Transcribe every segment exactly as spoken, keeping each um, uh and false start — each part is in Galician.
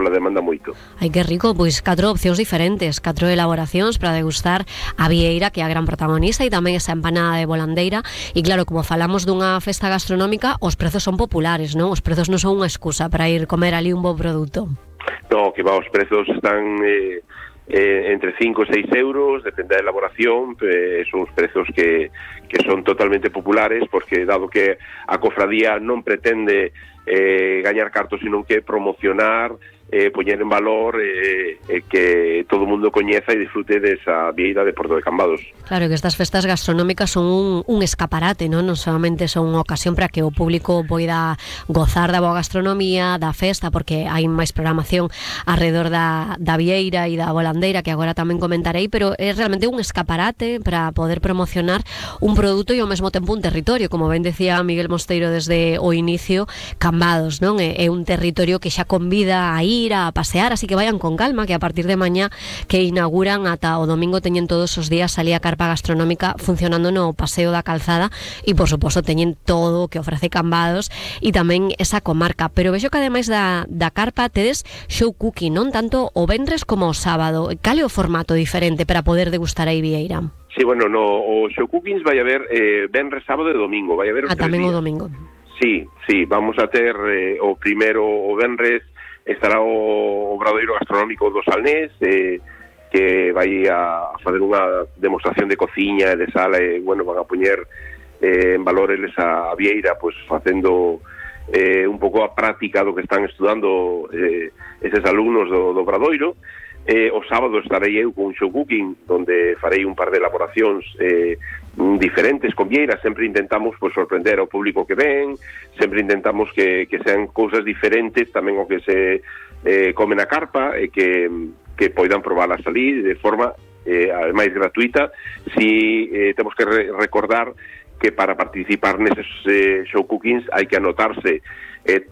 pola demanda moito. Ai, que rico, pois catro opcións diferentes, catro elaboracións para degustar a vieira, que é a gran protagonista, e tamén esa empanada de volandeira. E claro, como falamos dunha festa gastronómica, os prezos son populares, non? Os prezos non son unha excusa para ir comer ali un bo produto. No, que va, os prezos están eh, eh, entre cinco e seis euros, depende da elaboración, eh, son os prezos que, que son totalmente populares, porque dado que a cofradía non pretende eh, gañar cartos, sino que promocionar, eh, poñer en valor eh, eh, que todo o mundo coñeza e disfrute desa vieira de Porto de Cambados. Claro, que estas festas gastronómicas son un, un escaparate, non? Non solamente son unha ocasión para que o público poida gozar da boa gastronomía, da festa, porque hai máis programación alrededor da, da vieira e da volandeira, que agora tamén comentarei, pero é realmente un escaparate para poder promocionar un produto e ao mesmo tempo un territorio, como ben decía Miguel Mosteiro desde o inicio, Cambados, non? É, é un territorio que xa convida a ir a pasear, así que vayan con calma, que a partir de mañá que inauguran ata o domingo teñen todos os días ali a carpa gastronómica funcionando no Paseo da Calzada e, por suposto, teñen todo o que ofrece Cambados e tamén esa comarca. Pero vexo que ademais da, da carpa tedes show cooking, non? Tanto o venres como o sábado. Cal é o formato diferente para poder degustar a vieira? Sí, bueno, no, o show cookings vai haber eh, venres, sábado e domingo, vai haber os ah, tres tamén días. O domingo. Sí, sí, vamos a ter eh, o primeiro o venres, estará o obradoiro gastronómico do Salnés, eh, que vai a fazer unha demostración de cociña e de sala, e, bueno, van a poñer eh, en valor eles a vieira, pues, facendo eh, un pouco a práctica do que están estudando eh, eses alumnos do, do obradoiro. Eh, o sábado estarei eu con un show cooking, donde farei un par de elaboracións eh, diferentes con vieiras. Sempre intentamos pues, sorprender ao público que ven, sempre intentamos que, que sean cousas diferentes tamén o que se eh, come na carpa, e que, que poidan probarlas ali de forma eh, máis gratuita. Si eh, temos que re recordar que para participar neses eh, show cookings hai que anotarse, eh,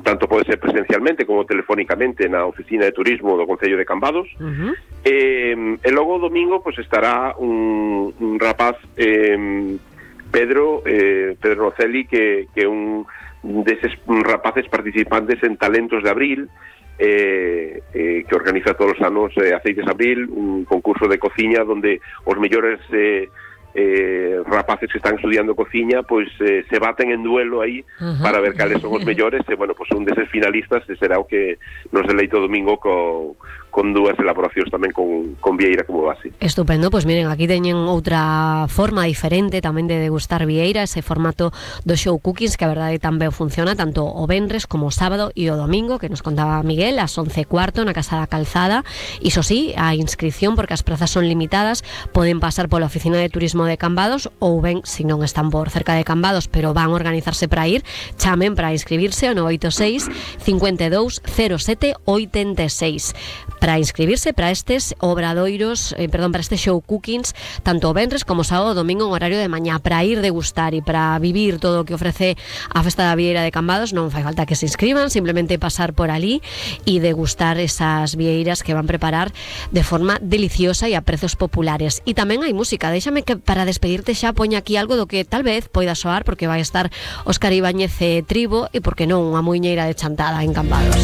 tanto pode ser presencialmente como telefónicamente na oficina de turismo do Concello de Cambados. Uh-huh. eh, e logo o domingo pues, estará un, un rapaz, eh, Pedro eh, Pedro Nocelli, que, que é un deses rapaces participantes en Talentos de Abril, eh, eh, que organiza todos os anos eh, Aceites Abril, un concurso de cociña donde os mellores eh, eh, rapaces que están estudiando cociña pois eh, se baten en duelo aí uh-huh. para ver cales son os mellores, e bueno, pois un deses finalistas será o que nos deleite o domingo co, con dúas elaboracións tamén con, con vieira como base. Estupendo, pois miren, aquí teñen outra forma diferente tamén de degustar vieira, ese formato do show cookings, que a verdade tamén funciona tanto o venres como o sábado e o domingo, que nos contaba Miguel, ás once e cuarto na Casa da Calzada. Iso sí, a inscripción, porque as prazas son limitadas, poden pasar pola oficina de turismo de Cambados, ou ben, se non están por cerca de Cambados, pero van a organizarse para ir, chamen para inscribirse ao nove oito seis, cinco dous, cero sete, oito seis. Para inscribirse para estes obradoiros, eh, perdón, para este show cookings, tanto o venres como sábado e domingo en horario de mañá, para ir degustar e para vivir todo o que ofrece a Festa da Vieira de Cambados. Non fai falta que se inscriban, simplemente pasar por ali e degustar esas vieiras que van preparar de forma deliciosa e a prezos populares. E tamén hai música. Déixame que para despedirte xa poña aquí algo do que tal vez poida soar, porque vai estar Óscar Ibáñez e Tribo, e porque non unha muiñeira de chantada en Cambados.